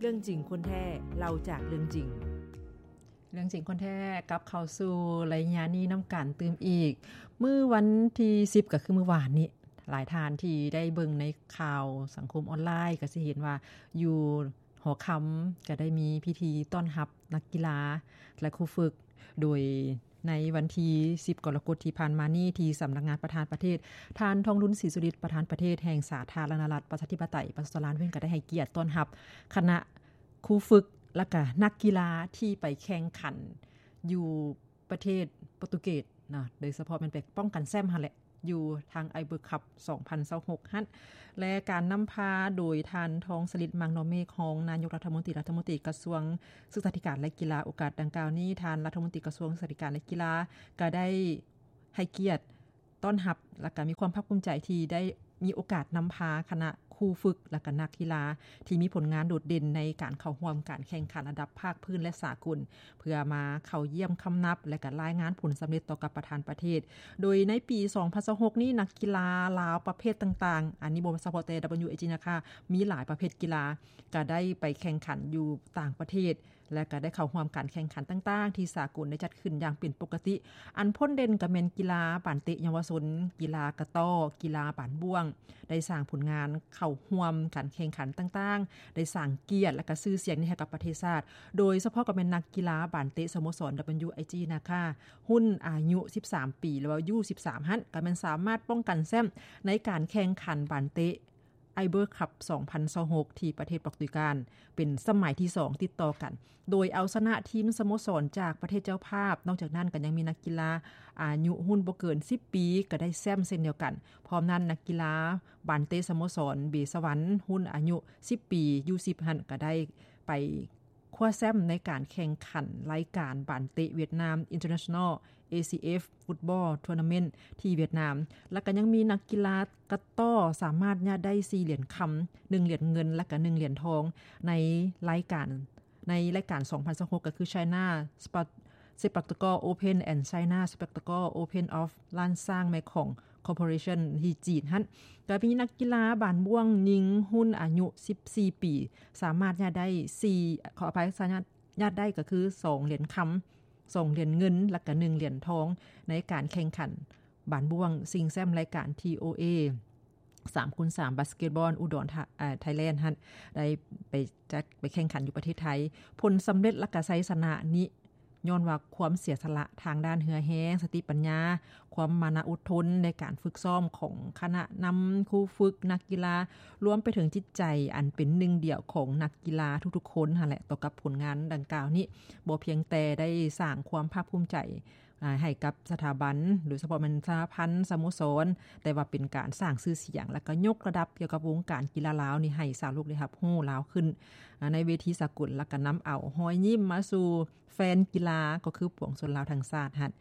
ເລື່ອງຈິງຄົນແທ້ ເລົ່າຈາກເລື່ອງຈິງ. ເລື່ອງຈິງຄົນແທ້ ກັບເຂົ້າສູ່ໄລຍະນີ້ນຳກັນຕື່ມອີກ. ມື້ວັນທີສິບ ກໍຄືມື້ວານນີ້ ຫຼາຍທ່ານທີ່ໄດ້ເບິ່ງໃນຂ່າວສັງຄົມອອນລາຍ ກໍຊິເຫັນວ່າຢູ່ຫໍຄຳ ກໍໄດ້ມີພິທີຕ້ອນຮັບນັກກິລາ ແລະ ຄູຝຶກ ໂດຍ ໃນວັນທີສິບ ກໍລະກົດທີ່ຜ່ານມານີ້ ທີ່ສຳນັກງານປະທານປະເທດ ທ່ານ ທອງລຸນ ສີສຸລິດ ປະທານປະເທດແຫ່ງສາທາລະນະລັດ ປະຊາທິປະໄຕ ປະຊາຊົນລາວ ເພິ່ນກໍໄດ້ໃຫ້ກຽດຕ້ອນຮັບຄະນະຄູຝຶກ ແລະກະນັກກິລາທີ່ໄປແຂ່ງຂັນຢູ່ປະເທດໂປຣຕຸເກດເນາະ, ໂດຍສະເພາະແມ່ນໄປປ້ອງກັນແຊ້ມຫັ້ນແຫຼະ ຢູ່ທາງ Iber Cup ສອງພັນຊາວຫົກຫັ້ນ ແລະ ການນຳພາໂດຍທ່ານ ທອງສະລິດ ມັງນໍເມກ ຮອງນາຍົກລັດຖະມົນຕີ ລັດຖະມົນຕີກະຊວງສຶກສາທິການ ແລະ ກິລາ. ໂອກາດດັ່ງກ່າວນີ້ ທ່ານລັດຖະມົນຕີກະຊວງສຶກສາທິການ ແລະ ກິລາ ກະໄດ້ໃຫ້ກຽດຕ້ອນຮັບ ແລະ ກະມີຄວາມພາກພູມໃຈທີ່ໄດ້ມີໂອກາດນຳພາຄະນະຄູຝຶກ ແລະ ກະນັກກິລາ ທີ່ມີຜົນງານໂດດເດັ່ນໃນການເຂົ້າຮ່ວມການແຂ່ງຂັນລະດັບພາກພື້ນ ແລະ ສາກົນ ເພື່ອມາເຂົ້າຢ້ຽມຄຳນັບ ແລະ ກະລາຍງານຜົນສຳເລັດຕໍ່ກັບປະທານປະເທດ. ໂດຍໃນປີສອງພັນຊາວຫົກນີ້ ນັກກິລາລາວປະເພດຕ່າງໆ ອັນນີ້ບໍ່ສະເພາະແຕ່ WAG ນະຄາ ມີຫຼາຍປະເພດກິລາ ກະໄດ້ໄປແຂ່ງຂັນຢູ່ຕ່າງປະເທດ ແລະ ກະໄດ້ເຂົ້າຮ່ວມການແຂ່ງຂັນຕ່າງໆ ທີ່ສາກົນໄດ້ຈັດຂຶ້ນຢ່າງເປັນປົກກະຕິ. ອັນພົ້ນເດັ່ນກະແມ່ນກິລາບານເຕະເຍົາວະຊົນ, ກິລາກະຕໍ້, ກິລາບານບ້ວງ ໄດ້ສ້າງຜົນງານເຂົ້າຮ່ວມການແຂ່ງຂັນຕ່າງໆ, ໄດ້ສ້າງກຽດ ແລະ ກະຊື່ສຽງໃຫ້ກັບປະເທດຊາດ. ໂດຍສະເພາະກະແມ່ນນັກກິລາບານເຕະສະໂມສອນ WAG ນະຄາ ຮຸ່ນອາຍຸສິບສາມປີ ຫຼືວ່າ U ສິບສາມ ຫັ້ນ ກະແມ່ນສາມາດປ້ອງກັນແຊ້ມໃນການແຂ່ງຂັນບານເຕະ Iber Cup ສອງພັນຊາວຫົກ ທີ່ປະເທດປອກຕຸຍການ ເປັນສະໄໝທີສອງຕິດຕໍ່ກັນ ໂດຍເອົາຊະນະທີມສະໂມສອນຈາກປະເທດເຈົ້າພາບ. ນອກຈາກນັ້ນກໍຍັງມີນັກກິລາອາຍຸຮຸ່ນບໍ່ເກີນສິບປີ ກໍໄດ້ແຊ້ມເຊັ່ນດຽວກັນ. ພ້ອມນັ້ນ ນັກກິລາບານເຕະສະໂມສອນເບສະຫວັນ ຮຸ່ນອາຍຸສິບປີ U ສິບ ຫັ້ນ ກໍໄດ້ໄປ ຄວ້າແຊ້ມໃນການແຂ່ງຂັນລາຍການບານເຕະຫວຽດນາມ International ACF Football Tournament ທີ່ຫວຽດນາມ ແລະ ກໍຍັງມີນັກກິລາກະຕໍ້ສາມາດຍາດໄດ້ສີ່ຫຼຽນຄຳ, ໜຶ່ງຫຼຽນເງິນ ແລະ ກະໜຶ່ງຫຼຽນທອງ ໃນລາຍການ ໃນລາຍການສອງພັນຊາວຫົກ ກໍຄື China Spa- Spectacle Open and China Spectacle Open of Lanshan Mekong Corporation ທີ່ຈີນຫັ້ນ ກໍມີນັກກິລາບານບ້ວງຍິງຮຸ່ນອາຍຸສິບສີ່ປີ ສາມາດຍາດໄດ້ສີ່ ຂໍອະໄພ ສາມາດຍາດໄດ້ກໍຄືສອງຫຼຽນຄຳ, ສອງຫຼຽນເງິນ ແລະ ກະໜຶ່ງຫຼຽນທອງ ໃນການແຂ່ງຂັນບານບ້ວງຊິງແຊ້ມລາຍການ ທີໂອເອ ສາມຄູນສາມ ບາສເກັດບອນ ອຸດອນ ເອີ ໄທແລນຫັ້ນ ໄດ້ໄປຈັດ ໄປແຂ່ງຂັນຢູ່ປະເທດໄທ. ຜົນສຳເລັດ ແລະ ກະໄຊຊະນະນີ້ ຍ້ອນວ່າຄວາມເສຍສະຫຼະທາງດ້ານເຫື່ອແຮງ, ສະຕິປັນຍາ, ຄວາມມານະອົດທົນໃນການຝຶກຊ້ອມຂອງຄະນະນຳ, ຄູຝຶກ, ນັກກິລາ, ລວມໄປເຖິງຈິດໃຈອັນເປັນໜຶ່ງດຽວຂອງນັກກິລາທຸກໆຄົນຫັ້ນແຫຼະ ຕໍ່ກັບຜົນງານດັ່ງກ່າວນີ້ ບໍ່ພຽງແຕ່ໄດ້ສ້າງຄວາມພາກພູມໃຈ ອາ ໃຫ້ກັບສະຖາບັນ ໂດຍສະເພາະແມ່ນສະຫະພັນສະໂມສອນ, ແຕ່ວ່າເປັນການສ້າງຊື່ສຽງ ແລະ ກໍຍົກລະດັບກ່ຽວກັບວົງການກິລາລາວນີ້ໃຫ້ຊາວໂລກໄດ້ຮັບຮູ້ລາວຂຶ້ນ ອາ ໃນເວທີສາກົນ ແລະ ກໍນຳເອົາຮອຍຍິ້ມມາສູ່ແຟນກິລາ ກໍຄືປວງຊົນລາວທັງຊາດຫັ້ນ.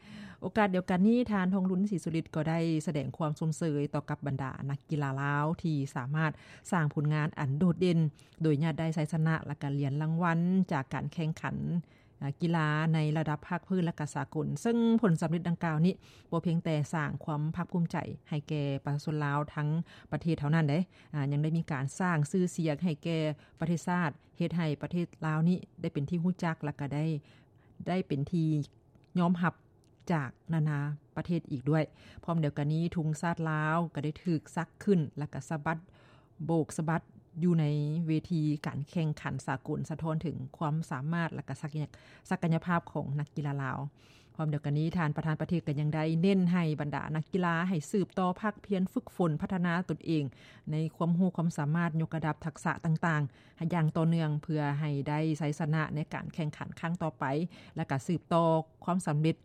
ໂອກາດດຽວກັນນີ້ ທ່ານ ທອງລຸນ ສີສຸລິດ ກໍໄດ້ສະແດງຄວາມຊົມເຊີຍຕໍ່ກັບບັນດານັກກິລາລາວ ທີ່ສາມາດສ້າງຜົນງານອັນໂດດເດັ່ນ ໂດຍຍາດໄດ້ໄຊຊະນະ ແລະ ກະຫຼຽນລາງວັນຈາກການແຂ່ງຂັນ ອາ ກິລາໃນລະດັບພາກພື້ນ ແລະ ກະສາກົນ, ເຊິ່ງຜົນສຳເລັດດັ່ງກ່າວນີ້ ບໍ່ພຽງແຕ່ສ້າງຄວາມພາກພູມໃຈໃຫ້ແກ່ປະຊາຊົນລາວທັງປະເທດເທົ່ານັ້ນເດ້, ອາ ຍັງໄດ້ມີການສ້າງຊື່ສຽງໃຫ້ແກ່ປະເທດຊາດ, ເຮັດໃຫ້ປະເທດລາວນີ້ໄດ້ເປັນທີ່ຮູ້ຈັກ ແລະ ກະໄດ້ ໄດ້ເປັນທີ່ຍອມຮັບຈາກນານາປະເທດອີກດ້ວຍ. ພ້ອມດຽວກັນນີ້ ທຸງຊາດລາວກະໄດ້ຖືກສັກຂຶ້ນ ແລະ ກະສະບັດ ໂບກສະບັດຢູ່ໃນເວທີການແຂ່ງຂັນສາກົນ ສະທ້ອນເຖິງຄວາມສາມາດ ແລະ ກະສັກ ສັກກະຍະພາບຂອງນັກກິລາລາວ. ພ້ອມດຽວກັນນີ້ ທ່ານປະທານປະເທດກໍຍັງໄດ້ເນັ້ນໃຫ້ບັນດານັກກິລາໃຫ້ສືບຕໍ່ພາກພຽນຝຶກຝົນພັດທະນາຕົນເອງໃນຄວາມຮູ້ຄວາມສາມາດ, ຍົກລະດັບທັກສະຕ່າງໆ ໃຫ້ຢ່າງຕໍ່ເນື່ອງ ເພື່ອໃຫ້ໄດ້ໄຊຊະນະໃນການແຂ່ງຂັນຄັ້ງຕໍ່ໄປ ແລະ ກະສືບຕໍ່ຄວາມສຳເລັດ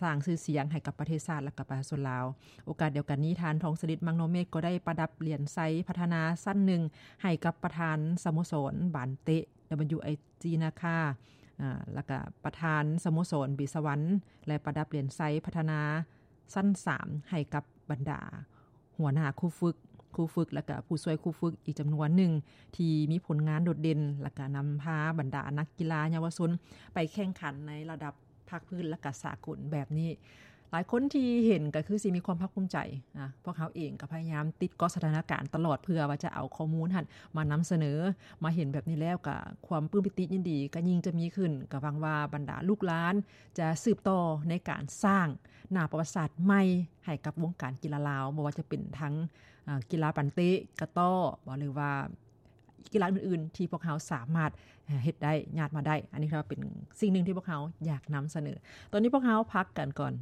ສ້າງຊື່ສຽງໃຫ້ກັບປະເທດຊາດ ແລະ ກະປະຊາຊົນລາວ. ໂອກາດດຽວກັນນີ້ ທ່ານ ທອງສະລິດ ມັງນໍເມກ ກໍໄດ້ປະດັບຫຼຽນໄຊພັດທະນາຊັ້ນໜຶ່ງໃຫ້ກັບປະທານສະໂມສອນບານເຕະ WAG ນາຄາ ອາ ແລະ ກະປະທານສະໂມສອນເບສະຫວັນ ແລະ ປະດັບຫຼຽນໄຊພັດທະນາຊັ້ນສາມໃຫ້ກັບບັນດາຫົວໜ້າຄູຝຶກ, ຄູຝຶກ ແລະ ກະຜູ້ຊ່ວຍຄູຝຶກອີກຈຳນວນໜຶ່ງ ທີ່ມີຜົນງານໂດດເດັ່ນ ແລະ ກະນຳພາບັນດານັກກິລາເຍົາວະຊົນໄປແຂ່ງຂັນໃນລະດັບ ພາກພື້ນ ແລະ ກະສາກົນແບບນີ້. ຫຼາຍຄົນທີ່ເຫັນກໍຄືຊິມີຄວາມພາກພູມໃຈນະ. ພວກເຮົາເອງກໍພະຍາຍາມຕິດເກາະສະຖານະການຕະຫຼອດ ເພື່ອວ່າຈະເອົາຂໍ້ມູນຫັ້ນມານຳສະເໜີ. ມາເຫັນແບບນີ້ແລ້ວກໍຄວາມປຶ້ມປີຕິຍິນດີກໍຍິ່ງຈະມີຂຶ້ນ. ກໍຫວັງວ່າບັນດາລູກຫຼານຈະສືບຕໍ່ໃນການສ້າງໜ້າປະຫວັດສາດໃໝ່ໃຫ້ກັບວົງການກິລາລາວ, ບໍ່ວ່າຈະເປັນທັງ ອາ ກິລາບານເຕະ ກະຕໍ້ ບໍ່ ຫຼືວ່າ ກິລາອື່ນໆທີ່ພວກເຮົາສາມາດເຮັດໄດ້ ຍາດມາໄດ້. ອັນນີ້ຖືວ່າເປັນສິ່ງໜຶ່ງທີ່ພວກເຮົາຢາກນຳສະເໜີ. ຕອນນີ້ພວກເຮົາພັກກັນກ່ອນ